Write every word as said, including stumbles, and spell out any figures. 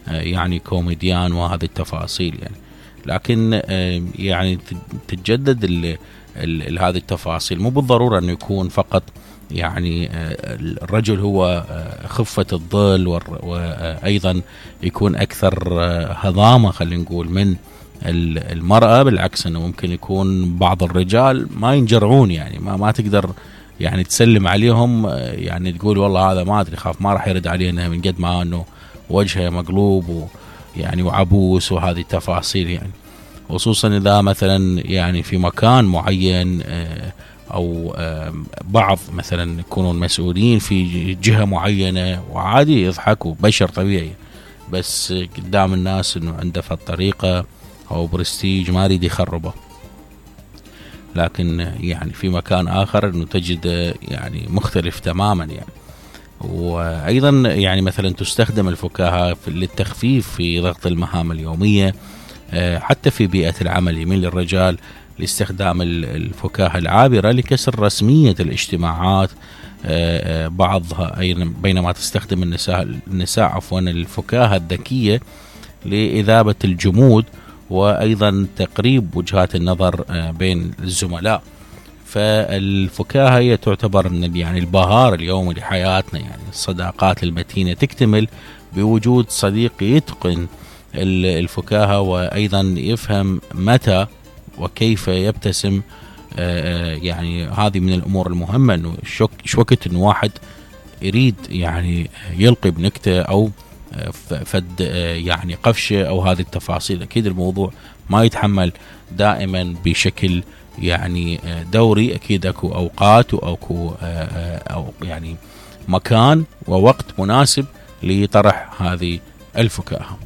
يعني كوميديان وهذه التفاصيل يعني. لكن يعني تتجدد ال ال هذه التفاصيل، مو بالضرورة أنه يكون فقط يعني الرجل هو خفة الظل، وأيضا يكون أكثر هضامة خلينا نقول من المرأة. بالعكس أنه ممكن يكون بعض الرجال ما ينجرعون، يعني ما ما تقدر يعني تسلم عليهم، يعني تقول والله هذا ما أدري خاف ما راح يرد علينا من قد ما أنه وجهه مقلوب ويعني وعبوس وهذه التفاصيل يعني. خصوصا إذا مثلا يعني في مكان معين أو بعض مثلا يكونون مسؤولين في جهة معينة وعادي يضحكوا، بشر طبيعي، بس قدام الناس إنه عنده في الطريقة أو برستيج ما يريد يخربه. لكن يعني في مكان آخر إنه تجد يعني مختلف تماما يعني. وأيضا يعني مثلا تستخدم الفكاهة للتخفيف في ضغط المهام اليومية، حتى في بيئة العمل يميل الرجال لاستخدام الفكاهة العابرة لكسر رسمية الاجتماعات بعضها، بينما تستخدم النساء النساء عفوا الفكاهة الذكية لإذابة الجمود وأيضا تقريب وجهات النظر بين الزملاء. فالفكاهة هي تعتبر من يعني البهار اليومي لحياتنا، يعني الصداقات المتينة تكتمل بوجود صديق يتقن الفكاهة وأيضا يفهم متى وكيف يبتسم. يعني هذه من الأمور المهمة، إنه شو وقت إنه واحد يريد يعني يلقي بنكتة أو فد يعني قفشة أو هذه التفاصيل. أكيد الموضوع ما يتحمل دائما بشكل يعني دوري، أكيد أكو أوقات وأكو أو يعني مكان ووقت مناسب لطرح هذه الفكاهة.